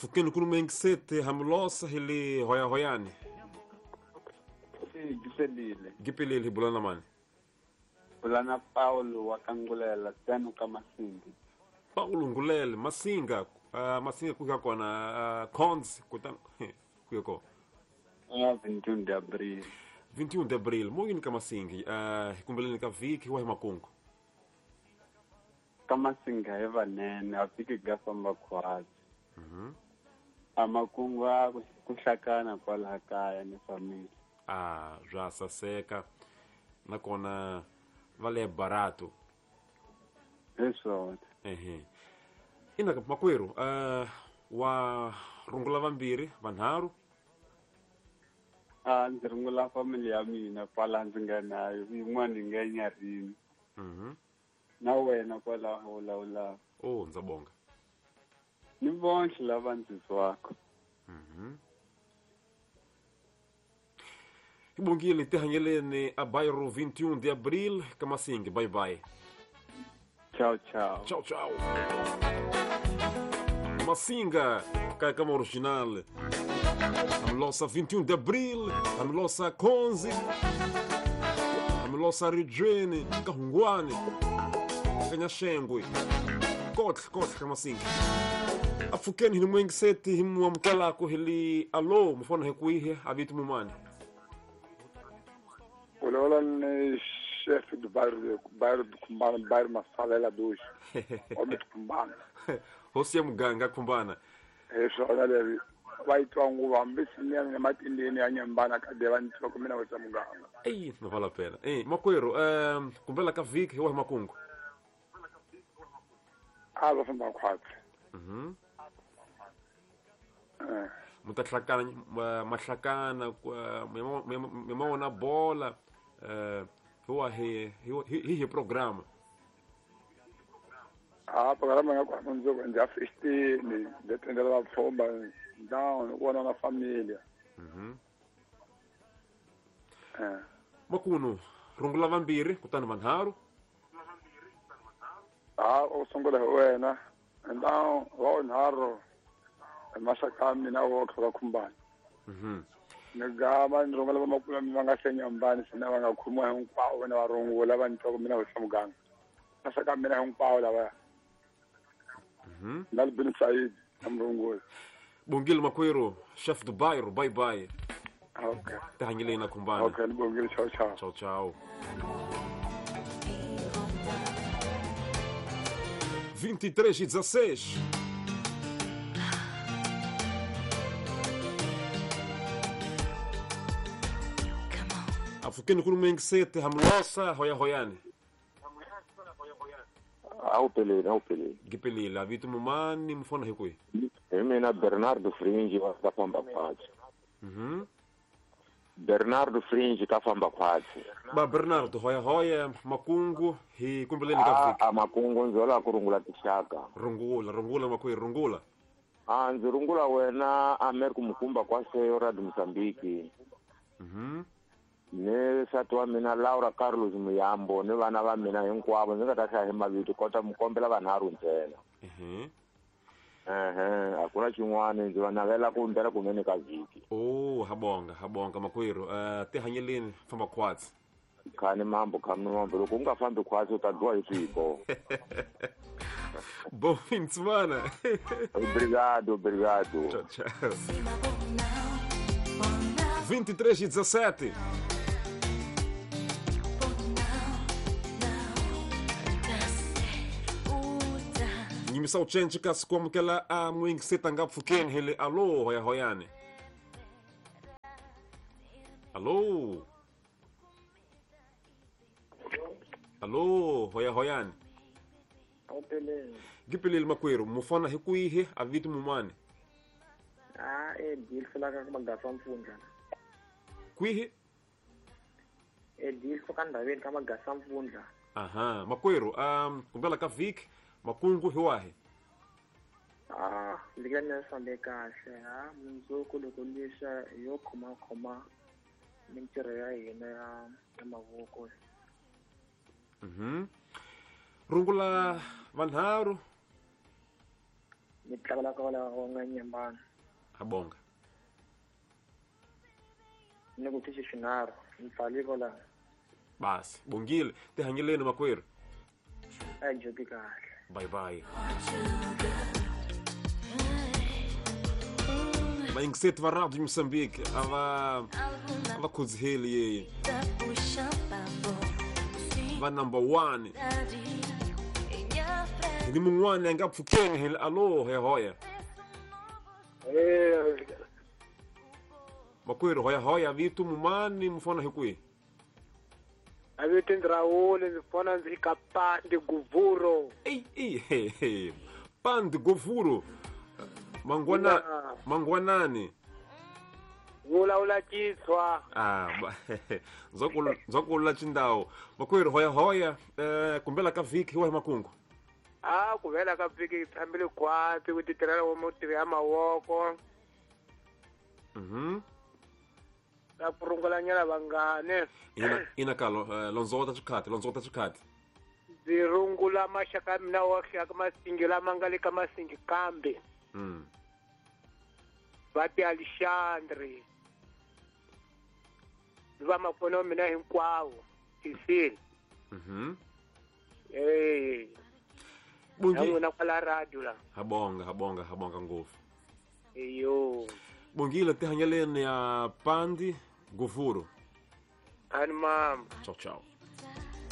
Apfukeni kulumengisete hamulosa hili hoya hoyani. Gipelile. Gipelile bulana mani. Bulana Paulo wakangulela tenu kama Masinga. Paulo ngulele Masinga, Masinga kuya kona cons kutan kuya ko. 21 de abril. 21 de abril, moyini ka Masinga, kumbeleni ka viki wa makungu. Ka Masinga e vanene a fiki ga famba khwazi. Amakungu a kuhlakana kwalaha kaya ni family. Ah, bya saseka nakona va le barato. Hi swona. Ehe. Ina makwerhu, wa rungula vambirhi vanharhu. Ndzi rungula family ya mina kwala ndzi nga nayo, yin'wana yi nga enyarini. Na wena kwalaho lawulaka. Oh, ndza bonga. Ni vonhle lava ndzi twaka. Ibongile tihanyeleni a bairro 21 de abril Kamasinga. Bye bye. Tchau, tchau. Tchau, tchau. Masinga, cai como original. Amlosa 21 de abril, amlosa 11, amlosa Rijene, Kahungwane, Kanyashengwe. Kotle, kotle Kamasinga. Afukeni hili mwengiseti himu amkelako hili alo mfona hekuihe avitu mumani. Olha, chefe do bairro do Cumbana, bairro Massalela 2, homem do Cumbana. Você é muganga Cumbana. Isso, olha, vai tu anguva, mbisi ni matindeni ya nyambana kade vai tu kumina você muganga. Ei, não vale a pena. Ei, makwero, kumbela ka viki wa makungu. Ah, va famba khwatsi. Mutahlakana mahlakana mwa bola huwa hi programa. Ah, programa nga kwa mundzuku ndza festini, ndzi tendela vapfhumba down ku na familia. Makunu rungula vambirhi kutani vanharhu. Ah, u sungula hi wena and down wa nharhu maxaka mina wo kha khumbana. Ni gama ni rungula vamakulu va nga senyambani sina va nga khomiwa hinkwavo vona va rungula va ni twa ku mina hosi muganga. Maxaka mina hinkwavo lava. Na bin Said na mrungula. Bongile makwerhu, chef do bairro, bye bye. Okay. Tihanyeleni na Khumbana. Okay, ni bongile, ciao ciao. Ciao ciao. 23:16. Afukeni kulumengisete hamlosa hoya hoyani. Awuphelele, awuphelele. Gipelile avitu mumani mfona hikui. Mina Bernardo Fringe wa ka famba khwatsi. Bernardo Fringe ka famba khwatsi. Ba Bernardo hoya hoya makungu hi kumbeleni ka viki. A makungu nzola ku rungula tixaka. Rungula, rungula makwe rungula. A ndzi rungula wena Amerika Mukumba kwa seyo Radio Mozambique. Ni nsati wa mina Laura Carlos Muyambo ni vana va mina hinkwavo ndzi nga ta hlaya hi mavito kota mi kombela vanharhu ntsena. A ku na xin'wana ndzi va navela ku ndlela kunene ka vhiki. Oh, habonga, habonga makwerhu. Tihanyeleni famba khwatsi. Khani mambo, khani mambo. Loko u nga fambi khwatsi u ta dyiwa hi swipo. Bom fim de semana. Obrigado, obrigado. Tchau, tchau. 23:17. Nyimisa uchenji kasi kuamukela a mwingiseta nga pfukeni hele alo hoya hoyani. Alo. Alo hoya hoyani. Awuphelele. Gipelele makwerhu mufana hi kwihi a vito mumani. Ah, e deal fela ka magasa mpfundla. Kwihi? E deal fela ndhaveni ka magasa mpfundla. Aha, makwerhu, kumbela ka viki makungu hi wahi? Ah, ndzi nga ni fambe kahle, ha mundzuku loko lixa yo khoma khoma mintirho ya hina ya mavoko. Rungula vanharhu. Ni tlakala ka wala wa nga nyambana. Habonga. Ni ku tishi xinharhu ni pfali kwala. Basi bongile tihanyeleni makwerhu. A joki kahle. Bye bye. Vaingiseti va Radio Moçambique a va khudziheli yeye. Va number 1. Ni mun'wana a nga pfukeni hi alo hoya hoya. Makwerhu hoya hoya vito mumani mufana hi kwihi? A vito Ndrawule ndzi fona ndzi ka Pandi Guvuro. Ei Pandi Guvuro. Mangwana mangwanani. Vulavula Xitswa. Ah, ndzokula Xindawo. Makwerhu hoya hoya kumbela ka vhiki hi wahi makungu? A ku vela ka vhiki tshambile khwatsi ku titirhela wa mutirhi ya mavoko. Ta ku rungulanyana vangani. Ina kalo londzota xikhati londzota xikhati. Ndzi rungula maxaka ya mina wa ka Masingi lama nga le ka Masingi kambe. Va ti Alexandre. Va mafoni wa mina hinkwawo tisini. Eh. Bongile kwala radio la. Habonga habonga habonga ngopfu. Eyo. Bongile tihanyeleni ya Pandi Guvuro. Ani mama. Ciao ciao.